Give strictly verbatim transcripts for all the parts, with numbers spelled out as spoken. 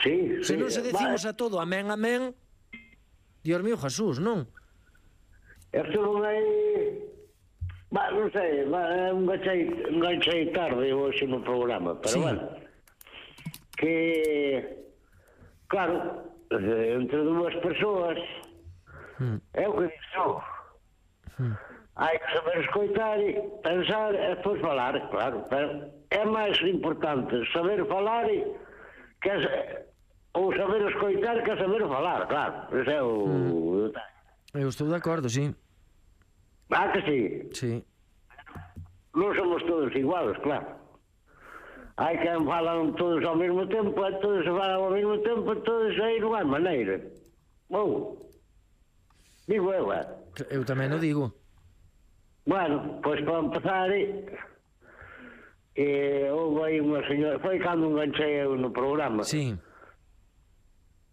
Sí, Se sí. non se decimos a todo amén, amén, Dios mío, Jesús, non? Esto non é... Bah, non sei, bah, enganchei, enganchei tarde hoxe no programa, pero Sí. bueno, que, claro, entre dúas persoas, Mm. é o que dixo, Mm. hai que saber escoitar e pensar e depois falar, claro, pero é máis importante saber falar e que ou saber escoitar que saber falar, claro, ese é o... Mm. Eu estou de acordo, sí. Ah, que sí? Sí. Non somos todos iguales, claro. Hai quen falan todos ao mesmo tempo, e todos se falan ao mesmo tempo, todos aí non hai maneira. Ou, digo eu, eh? Eu tamén o digo. Bueno, pois para empezar, eh, houve aí unha señora, foi cando enganchei eu no programa. Sí.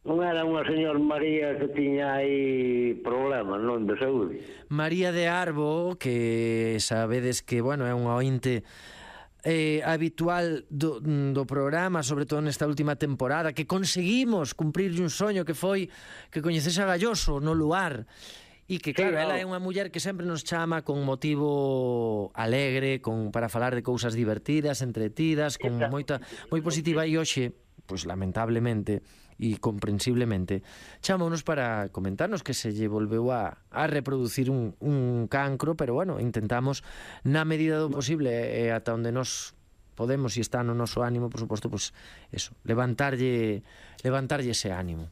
Non era unha señora María que tiña aí problemas, non, de saúde. María de Arbo, que sabedes que, bueno, é unha ointe eh, habitual do, do programa, sobre todo nesta última temporada, que conseguimos cumprirlle un soño que foi que coñecese a Galloso no lugar. E que, claro, sí, ela é unha muller que sempre nos chama con motivo alegre, con para falar de cousas divertidas, entretidas, con moita moi positiva, e hoxe, pois lamentablemente e comprensiblemente, chamounos para comentarnos que se lle volveu a, a reproducir un, un cancro, pero bueno, intentamos na medida do posible e ata onde nos podemos e está no noso ánimo, por suposto, pois eso, levantarlle levantarlle ese ánimo.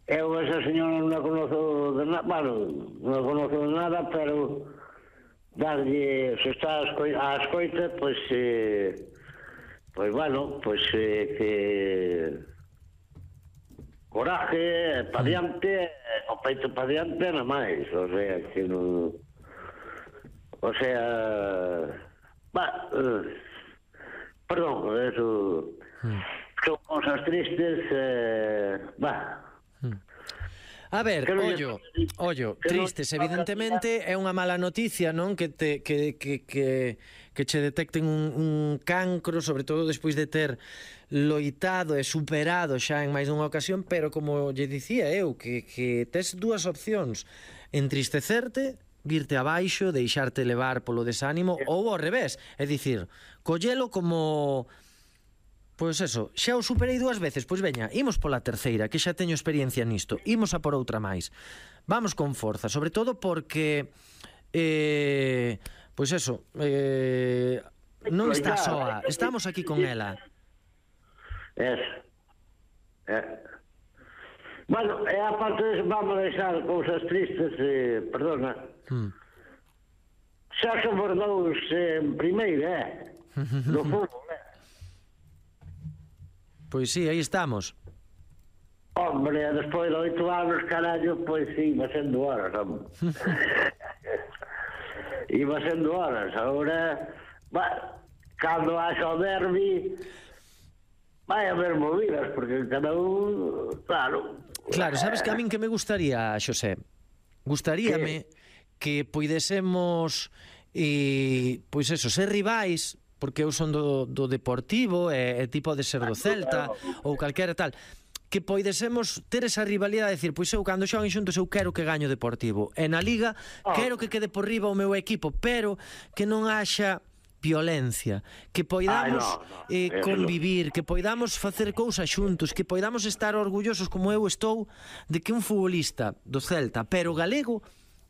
Eu esa señora non a conozo de nada, bueno, non a conozo de nada, pero darlle, se está a escoita, a escoita pois, eh, pois, bueno, pois, eh, que coraje, pa diante, o peito pa diante, nada máis, o sea, que non, o sea, bah, eh, perdón, eso, mm. son cosas tristes, eh, bah, a ver, ollo, ollo, tristes, evidentemente é unha mala noticia, non? Que te que que que que che detecten un, un cancro, sobre todo despois de ter loitado e superado xa en máis dunha ocasión, pero como lle dicía eu, que que tes dúas opcións: entristecerte, virte abaixo, deixarte levar polo desánimo, ou ao revés, é dicir, collelo como... Pois eso, xa o superei dúas veces, pois veña, imos pola terceira, que xa teño experiencia nisto, imos a por outra máis. Vamos con forza, sobre todo porque eh, pois eso, eh, non está soa, estamos aquí con ela. Es. Eh. Bueno, e aparte de vamos a deixar cousas tristes, eh, perdona. Hmm. Xa somos dous en primeira, eh? No fútbol, eh? Pois sí, aí estamos. Hombre, despois de oito anos, carallo, pois sí, iba sendo horas, hombre. Iba sendo horas. Agora, bah, cando haxa o derbi, vai haber movidas, porque cada un, claro... Claro, sabes que a min que me gustaría, Xosé? Gustaríame que, que poidésemos, eh, pois eso, ser rivais... porque eu son do, do Deportivo e, e tipo de ser do Celta ou calquera tal, que poidesemos ter esa rivalidade de decir, pois eu cando xoguen xuntos eu quero que gaño o Deportivo, e na Liga quero que quede por riba o meu equipo, pero que non haxa violencia, que poidamos Ay, no, no. Eh, convivir, que poidamos facer cousas xuntos, que poidamos estar orgullosos como eu estou de que un futbolista do Celta, pero galego,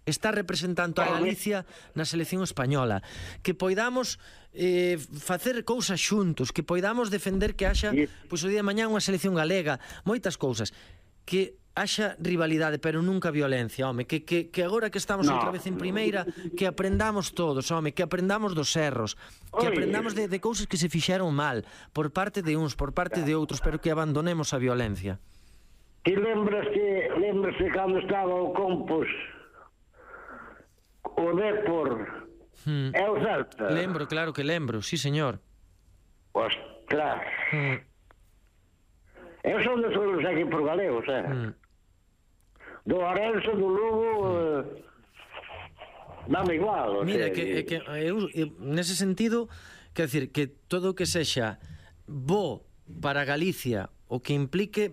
está representando a Galicia na selección española, que poidamos eh, facer cousas xuntos, que poidamos defender que haxa, pois o día de mañá unha selección galega, moitas cousas, que haxa rivalidade, pero nunca violencia, home, que, que, que agora que estamos no. outra vez en primeira, que aprendamos todos, home, que aprendamos dos erros, que aprendamos de, de cousas que se fixeron mal, por parte de uns, por parte de outros, pero que abandonemos a violencia. Ti lembras que, lembras que cando estaba o Compos, o Depor hmm. é o Celta? Lembro, claro que lembro, sí señor. Ostras. Hmm. Eu son de todos os equipos galegos, eh? Hmm. Do Orense, do Lugo, eh, dame igual. Mira, que, que eu, eu, nese sentido, quer decir, que todo o que sexa bo para Galicia, o que implique